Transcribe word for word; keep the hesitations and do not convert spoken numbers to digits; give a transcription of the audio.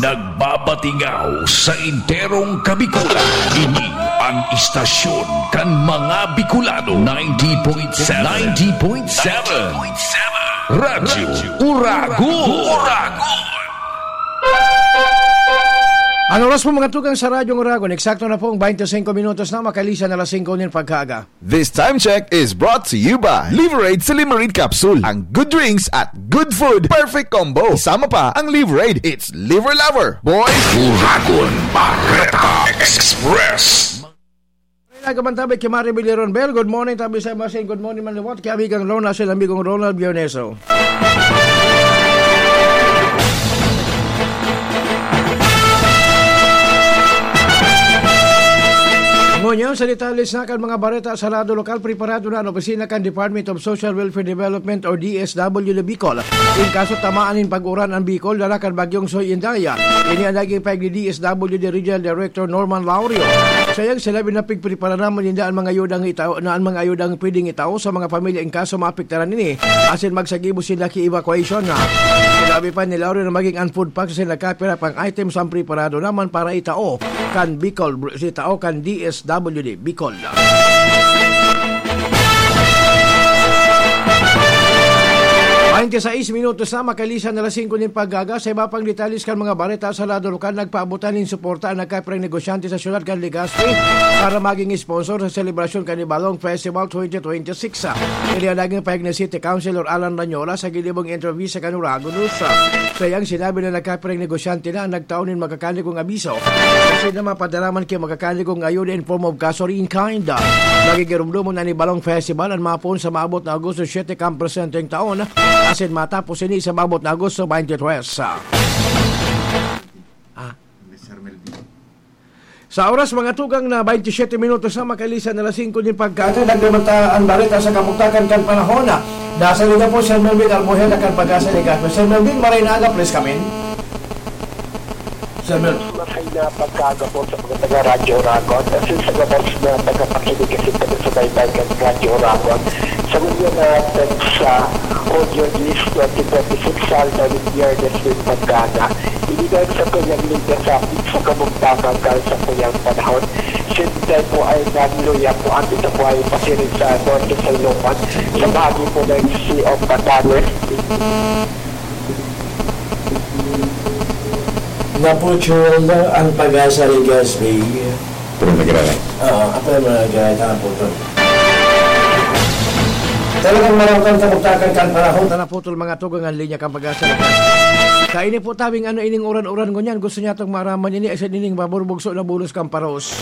Nagbabatingaw sa enterong Kabikulan. Ini ang istasyon kan mga Bicolano, ninety point seven. ninety point seven. Radyo Uragon. Uragon. Ang oras po, mga tugang, sa Radyo Uragon, eksakto na pong twenty-five minutos na, makalisan na alas singko nin pagkaaga. This time check is brought to you by Liverade Silimarin Capsule. Ang good drinks at good food, perfect combo. Isama pa ang Liverade, it's Liver Lover. Boys, Uragon Bareta Express. Nagaman tabi ki Mari Biliron Bell. Good morning, tabi sa Masin. Good morning, man liwat ki amigang Lorna, sa amigong Ronald Bioneso. Ngunyan, sa detalye sa kan mga bareta sa lado lokal, preparado na an opisina kan Department of Social Welfare Development o D S W D Bicol. In kaso tamaan nin pag-uran an Bicol, dala kan Bagyong Soy Inday. Ini ang naging pahayag ni D S W D Regional Director Norman Laurio. Sa iyang sinabi na pigprepara naman ninda an mga ayudang itao, na an mga ayudang pwedeng itao sa mga pamilya in kaso maapektaran ini, asin magsagibo sinda ki evacuation na. Sinabi pa ni Laurio na maging an food packs asin nagkapira pang items ang preparado naman para itao kan Bicol, itao kan D S W D Bicol. Twenty-six minutos na, makalisan na alas singko nin pagkaaga. Sa iba pang detalye kan mga bareta sa lado lokal, nagpaabotan nin suporta ang nagkapirang negosyante sa siyudad kan Legazpi para maging sponsor sa selebrasyon kan Ibalong Festival twenty twenty-six. Ini ang naging pahayag ni City Councilor Alan Ranyola sa ginibong interview sa kan Uragon News. Sa iyang sinabi na nagkapirang negosyante na ang nagtao nin magkakanigong abiso kasi na mapadala man ki magkakanigong ayuda in form of cash or in kind. Magigirumdomon an Ibalong Festival an mapoon sa maabot na Agosto siete kan presenteng taon, asin matapos ini sa maabot na Agosto twenty-three. Ah. Sa oras, mga tugang, na twenty-seven minutos na, makalisan na alas singko nin pagkaaga, nagdamanta an bareta sa kabugtakan kan panahon. Nasa liga po, Sir Melvin Albuhena kan Pag-asa Liga. Sir Melvin, maray na aga, please come in. Sir Melvin. Maray na pagkaaga po sa mga taga Radyo Uragon. Kasi sa gabos na tagapakinig kasi taga-subaybay kan Radyo Uragon. Sa mga na text sa audio list twenty twenty-six, sa aldaw ni Biyernes nin pagkaaga. Inidan sa kuyang linya sa, sa kabugtakan kan sakuyang panahon. Siyempre po ay nagluya po ang ito po ay pasiring sa Norte sa Ilocos, sa bahagi po ng Sea of Batanes. Naputol na ang Pag-asa Legazpi. Pero nagrara. Oo, ako yung mga gaya na naputol. Talagang marawtan kabugtakan kan panahon. Naputol, mga tugang, ang linya kan Pag-asa Legazpi. Kaini po tabing ano ining uran-uran ngunyan. Gusto niya itong maraman ini, asin ining maburbugso na bulos kan paros.